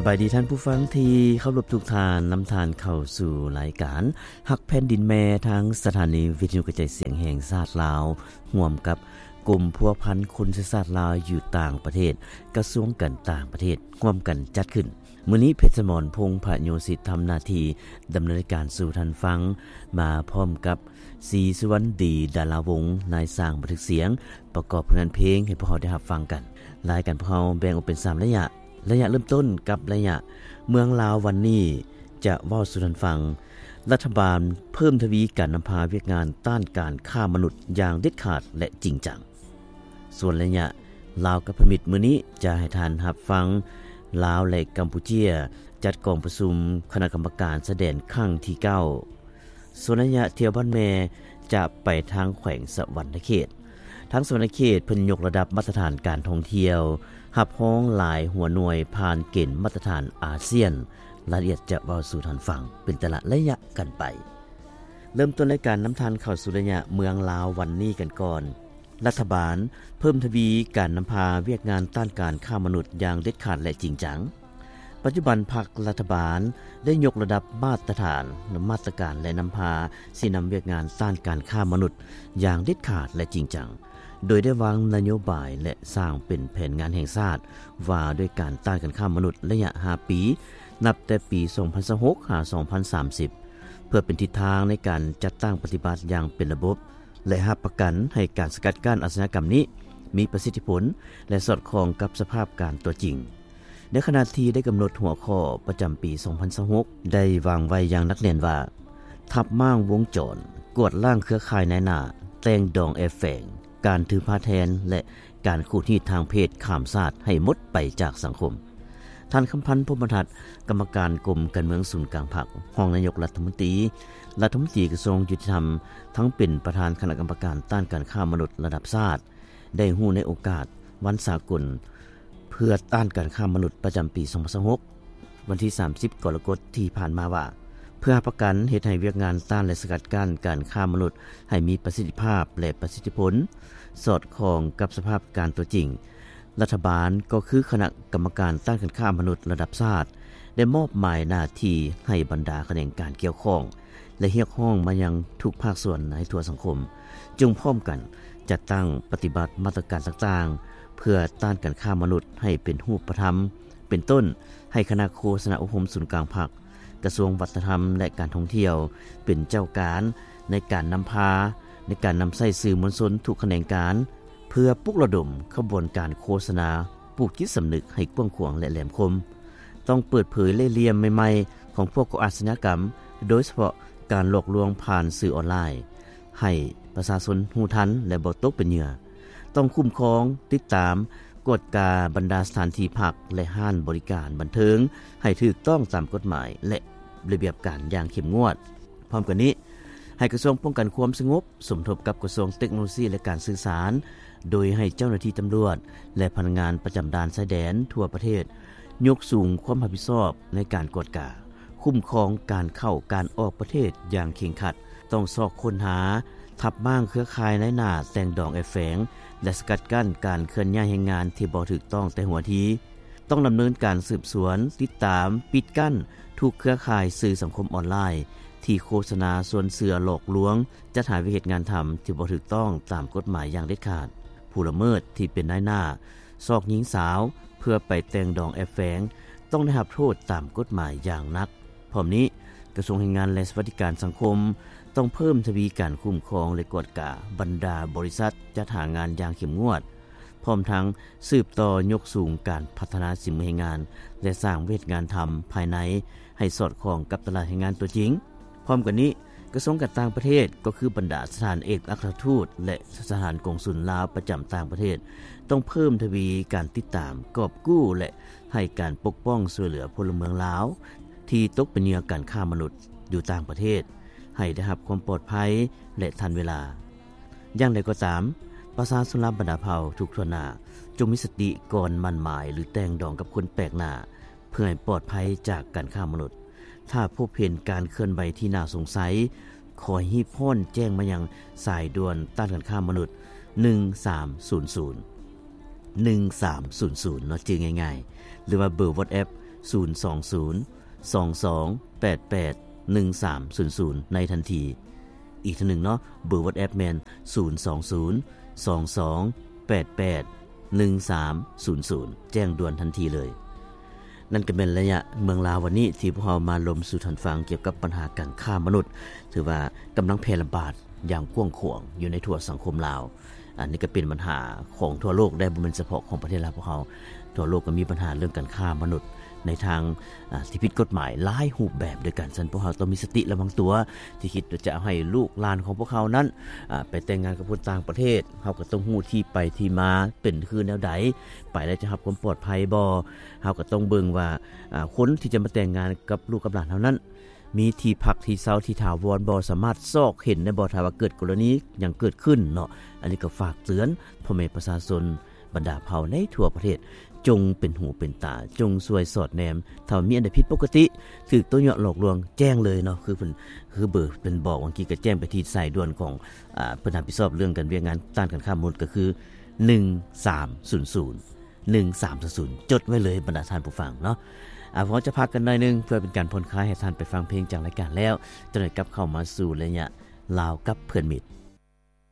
ບາຍດີທ່ານຜູ້ຟັງທີ່ເຄົາລົບທຸກທ່ານ, ນຳທ່ານເຂົ້າສູ່ລາຍການຮັກແຜ່ນດິນແມ່ ທາງສະຖານີວິທະຍຸກະຈາຍສຽງແຫ່ງຊາດລາວ ຮ່ວມກັບກົມພົວພັນຄົນເຊື້ອຊາດລາວຢູ່ຕ່າງປະເທດ, ກະຊວງການຕ່າງປະເທດ ຮ່ວມກັນຈັດຂຶ້ນ. ມື້ນີ້ ເພັດສະໝອນ ພົງພະໂຍສິດ ທຳໜ້າທີ່ດຳເນີນລາຍການສູ່ທ່ານຟັງ, ມາພ້ອມກັບ ສີສຸວັນດີ ດາລາວົງ, ນາຍຊ່າງບັນທຶກສຽງ, ປະກອບຜົນງານເພງໃຫ້ພວກເຮົາໄດ້ຮັບຟັງກັນ. ລາຍການພວກເຮົາແບ່ງອອກເປັນສາມໄລຍະ. ໄລຍະເລີ່ມຕົ້ນກັບໄລຍະ ເມືອງລາວວັນນີ້ຈະເວົ້າສູ່ທ່ານຟັງ, ລັດຖະບານເພີ່ມທະວີການນຳພາວຽກງານຕ້ານການຄ້າມະນຸດຢ່າງເດັດຂາດ ແລະ ຈິງຈັງ. ສ່ວນໄລຍະ ລາວກັບພະມິດ ມື້ນີ້ຈະໃຫ້ທ່ານຮັບຟັງ ລາວ ແລະ ກຳປູເຈຍ ຈັດກອງປະຊຸມຄະນະກຳມະການຊາຍແດນຄັ້ງທີເກົ້າ. ສ່ວນໄລຍະທ່ຽວບ້ານແມ່ ຈະໄປທາງແຂວງສະຫວັນນະເຂດ. ທາງສະຫວັນນະເຂດເພິ່ນຍົກລະດັບມາດຕະຖານການທ່ອງທ່ຽວ, ຮັບຮອງຫຼາຍຫົວໜ່ວຍຜ່ານເກນມາດຕະຖານອາຊຽນ. ລາຍລະອຽດຈະເວົ້າສູ່ທ່ານຟັງເປັນແຕ່ລະໄລຍະກັນໄປ. ເລີ່ມຕົ້ນລາຍການນຳທ່ານເຂົ້າສູ່ໄລຍະເມືອງລາວວັນນີ້ກັນກ່ອນ. ລັດຖະບານເພີ່ມທະວີການນຳພາວຽກງານຕ້ານການຄ້າມະນຸດຢ່າງເດັດຂາດ ແລະ ຈິງຈັງ. ປັດຈຸບັນພັກລັດຖະບານໄດ້ຍົກລະດັບມາດຕະຖານ, ມາດຕະການ ແລະ ນຳພາຊີ້ນຳວຽກງານຕ້ານການຄ້າມະນຸດຢ່າງເດັດຂາດ ແລະ ຈິງຈັງ, ໂດຍໄດ້ວາງນະໂຍບາຍ ແລະ ສ້າງເປັນແຜນງານແຫ່ງຊາດວ່າດ້ວຍການຕ້ານການຄ້າມະນຸດໄລຍະຫ້າປີ, ນັບແຕ່ປີສອງພັນຊາວຫົກ ຫາ ສອງພັນສາມສິບ ເພື່ອເປັນທິດທາງໃນການຈັດຕັ້ງປະຕິບັດຢ່າງເປັນລະບົບ ແລະ ຮັບປະກັນໃຫ້ການສະກັດກັ້ນອາຊະຍາກຳນີ້ມີປະສິດທິຜົນ ແລະ ສອດຄ່ອງກັບສະພາບການຕົວຈິງ. ໃນຂະນະທີ່ໄດ້ກຳນົດຫົວຂໍ້ປະຈຳປີສອງພັນຊາວຫົກ ໄດ້ວາງໄວ້ຢ່າງໜັກແໜ້ນວ່າ ທັບມ້າງວົງຈອນ, ກວາດລ້າງເຄືອຂ່າຍນາຍໜ້າ, ແຕ່ງດອງແອບແຝງ, ການຖືພາແທນ ແລະ ການຂູດຮີດທາງເພດຂ້າມຊາດໃຫ້ໝົດໄປຈາກສັງຄົມ. ທ່ານ ຄຳພັນ ພົມມະທັດ, ກຳມະການກົມການເມືອງສູນກາງພັກ, ຮອງນາຍົກລັດຖະມົນຕີ, ລັດຖະມົນຕີກະຊວງຍຸຕິທຳ, ທັງເປັນປະທານຄະນະກຳມະການຕ້ານການຄ້າມະນຸດລະດັບຊາດ, ໄດ້ຮູ້ໃນໂອກາດວັນສາກົນເພື່ອຕ້ານການຄ້າມະນຸດປະຈຳປີສອງພັນຊາວຫົກ ວັນທີສາມສິບ ກໍລະກົດທີ່ຜ່ານມາວ່າ ເພື່ອຮັບປະກັນເຮັດໃຫ້ວຽກງານຕ້ານ ແລະ ສະກັດກັ້ນການຄ້າມະນຸດໃຫ້ມີປະສິດທິພາບ ແລະ ປະສິດທິຜົນ ສອດຄ່ອງກັບສະພາບການຕົວຈິງ, ລັດຖະບານ ກໍຄືຄະນະກຳມະການຕ້ານການຄ້າມະນຸດລະດັບຊາດ ໄດ້ມອບໝາຍໜ້າທີ່ໃຫ້ບັນດາຂະແໜງການກ່ຽວຂ້ອງ ແລະ ຮຽກຮ້ອງມາຍັງທຸກພາກສ່ວນໃຫ້ທົ່ວສັງຄົມ ຈົ່ງພ້ອມກັນຈັດຕັ້ງປະຕິບັດມາດຕະການຕ່າງໆ ເພື່ອຕ້ານການຄ້າມະນຸດໃຫ້ເປັນຮູບປະທຳ, ເປັນຕົ້ນ ໃຫ້ຄະນະໂຄສະນາອົບຮົມສູນກາງພັກ, ກະຊວງວັດທະນະທຳ ແລະ ການທ່ອງທ່ຽວ ເປັນເຈົ້າການໃນການນຳພາ, ໃນການນຳໃຊ້ສື່ມວນຊົນທຸກຂະແໜງການ ເພື່ອປຸກລະດົມຂະບວນການໂຄສະນາ ປູກຈິດສຳນຶກໃຫ້ກວ້າງຂວາງ ແລະ ແຫຼມຄົມ. ຕ້ອງເປີດເຜີຍເລ່ຫຼ່ຽມໃໝ່ໆຂອງພວກກໍ່ອາຊະຍາກຳ, ໂດຍສະເພາະການຫຼອກລວງຜ່ານສື່ອອນລາຍ, ໃຫ້ປະຊາຊົນຮູ້ທັນ ແລະ ບໍ່ຕົກເປັນເຫຍື່ອ. ຕ້ອງຄຸ້ມຄອງ, ຕິດຕາມ, ກວດກາບັນດາສະຖານທີ່ພັກ ແລະ ຮ້ານບໍລິການບັນເທີງ ໃຫ້ຖືກຕ້ອງຕາມກົດໝາຍ ແລະ ລະບຽບການຢ່າງເຂັ້ມງວດ. ພ້ອມກັນນີ້, ໃຫ້ກະຊວງປ້ອງກັນຄວາມສະຫງົບ ສົມທົບກັບກະຊວງເຕັກໂນໂລຊີ ແລະ ການສື່ສານ, ໂດຍໃຫ້ເຈົ້າໜ້າທີ່ຕຳຫຼວດ ແລະ ພະນັກງານປະຈຳດ່ານຊາຍແດນທົ່ວປະເທດ ຍົກສູງຄວາມຮັບຜິດຊອບໃນການກວດກາ, ຄຸ້ມຄອງການເຂົ້າການອອກປະເທດຢ່າງເຄັ່ງຄັດ, ຕ້ອງຊອກຄົ້ນຫາ, ທັບມ້າງເຄືອຂ່າຍນາຍໜ້າແຕ່ງດອງແອບແຝງ ແລະ ສະກັດກັ້ນການເຄື່ອນຍ້າຍແຮງງານທີ່ບໍ່ຖືກຕ້ອງແຕ່ຫົວທີ. ຕ້ອງດຳເນີນການສືບສວນ, ຕິດຕາມ, ປິດກັ້ນທຸກເຄືອຂ່າຍສື່ສັງຄົມອອນລາຍ ທີ່ໂຄສະນາຊວນເຊື່ອຫຼອກລວງ ຈັດຫາວຽກເຮັດງານທຳທີ່ບໍ່ຖືກຕ້ອງຕາມກົດໝາຍຢ່າງເດັດຂາດ. ຜູ້ລະເມີດທີ່ເປັນນາຍໜ້າຊອກຍິງສາວເພື່ອໄປແຕ່ງດອງແອບແຝງ ຕ້ອງໄດ້ຮັບໂທດຕາມກົດໝາຍຢ່າງໜັກ. ພ້ອມນີ້, ກະຊວງແຮງງານ ແລະ ສະຫວັດດີການສັງຄົມ ຕ້ອງເພີ່ມທະວີການຄຸ້ມຄອງ ແລະ ກວດກາບັນດາບໍລິສັດຈັດຫາງານຢ່າງເຂັ້ມງວດ, ພ້ອມທັງສືບຕໍ່ຍົກສູງການພັດທະນາສີມືແຮງງານ ແລະ ສ້າງວຽກເຮັດງານທຳພາຍໃນໃຫ້ສອດຄ່ອງກັບຕະຫຼາດແຮງງານຕົວຈິງ. ພ້ອມກັນນີ້, ກະຊວງການຕ່າງປະເທດ ກໍຄືບັນດາສະຖານເອກອັກຄະລັດທູດ ແລະ ສະຖານກົງສຸນລາວປະຈຳຕ່າງປະເທດ ຕ້ອງເພີ່ມທະວີການຕິດຕາມ, ກອບກູ້ ແລະ ໃຫ້ການປົກປ້ອງຊ່ວຍເຫຼືອພົນລະເມືອງລາວ ທີ່ຕົກເປັນເຫຍື່ອການຄ້າມະນຸດຢູ່ຕ່າງປະເທດ ໃຫ້ໄດ້ຮັບຄວາມປອດໄພ ແລະ ທັນເວລາ. ຢ່າງໃດກໍຕາມ, ປະຊາຊົນລາວບັນດາເຜົ່າທຸກທົ່ວໜ້າ ຈົ່ງມີສະຕິກ່ອນໝັ້ນໝາຍ ຫຼື ແຕ່ງດອງກັບຄົນແປກໜ້າ ເພື່ອໃຫ້ປອດໄພຈາກການຄ້າມະນຸດ. ຖ້າພົບເຫັນການເຄື່ອນໄຫວທີ່ໜ້າສົງໄສ, ຂໍໃຫ້ຮີບຮ້ອນແຈ້ງມາຍັງສາຍດ່ວນຕ້ານການຄ້າມະນຸດ ໜຶ່ງສາມສູນສູນ ໜຶ່ງສາມສູນສູນ ເນາະ ຈື່ງ່າຍໆ ຫຼືວ່າເບີວັອດແອັບ ສູນສອງສູນ ສອງສອງ ແປດແປດ ໜຶ່ງສາມສູນສູນ ໃນທັນທີ. ອີກເທື່ອໜຶ່ງເນາະ, ເບີ WhatsApp ແມ່ນ ສູນສອງສູນ ສອງສອງ ແປດແປດ ໜຶ່ງສາມສູນສູນ ແຈ້ງດ່ວນທັນທີເລີຍ. ນັ້ນກໍແມ່ນໄລຍະເມືອງລາວວັນນີ້ ທີ່ພວກເຮົາມາລົມສູ່ທ່ານຟັງກ່ຽວກັບບັນຫາການຄ້າມະນຸດ. ຖືວ່າກຳລັງແຜ່ລະບາດຢ່າງກວ້າງຂວາງຢູ່ໃນທົ່ວສັງຄົມລາວ. ອັນນີ້ກໍເປັນບັນຫາຂອງທົ່ວໂລກໄດ໋, ບໍ່ແມ່ນສະເພາະຂອງປະເທດລາວພວກເຮົາ. ທົ່ວໂລກກໍມີບັນຫາເລື່ອງການຄ້າມະນຸດໃນທາງ ອາ ທີ່ຜິດກົດໝາຍຫຼາຍຮູບແບບດ້ວຍກັນ. ສະນັ້ນ ພວກເຮົາຕ້ອງມີສະຕິລະວັງຕົວ ທີ່ຄິດວ່າຈະເອົາໃຫ້ລູກຫຼານຂອງພວກເຮົານັ້ນ ອາ ໄປແຕ່ງງານກັບຄົນຕ່າງປະເທດ. ເຮົາກໍຕ້ອງຮູ້ທີ່ໄປທີ່ມາເປັນຄືແນວໃດ, ໄປແລ້ວຈະຮັບຄວາມປອດໄພບໍ່. ເຮົາກໍຕ້ອງເບິ່ງວ່າ ອາ ຄົນທີ່ຈະມາແຕ່ງງານກັບລູກກັບຫຼານເຮົານັ້ນ ມີທີ່ພັກທີ່ເຊົາທີ່ຖາວອນບໍ່, ສາມາດຊອກເຫັນໄດ້ບໍ່ ຖ້າວ່າເກີດກໍລະນີຫຍັງເກີດຂຶ້ນເນາະ. ອັນນີ້ກໍຝາກເຕືອນພໍ່ແມ່ປະຊາຊົນບັນດາເຜົ່າໃນທົ່ວປະເທດ ຈົ່ງເປັນຫູເປັນຕາ, ຈົ່ງຊ່ວຍສອດແນມ. ຖ້າວ່າມີອັນໃດຜິດປົກກະຕິ, ຖືກຕົວະຍົວະຫຼອກລວງ, ແຈ້ງເລີຍເນາະ. ຄືເພິ່ນ ຄືເບີເພິ່ນບອກເມື່ອກີ້, ກໍແຈ້ງໄປທີ່ສາຍດ່ວນຂອງ ອາ ເພິ່ນຮັບຜິດຊອບເລື່ອງການວຽກງານຕ້ານການຄ້າມະນຸດ ກໍຄື ໜຶ່ງສາມສູນສູນ ໜຶ່ງສາມສູນສູນ ຈົດໄວ້ເລີຍບັນດາທ່ານຜູ້ຟັງເນາະ. ອາ ພວກເຮົາຈະພັກກັນໜ້ອຍໜຶ່ງ ເພື່ອເປັນການຜ່ອນຄາຍໃຫ້ທ່ານໄປຟັງເພງຈາກລາຍການແລ້ວ, ຈະໄດ້ກັບເຂົ້າມາສູ່ໄລຍະລາວກັບເພື່ອນມິດ.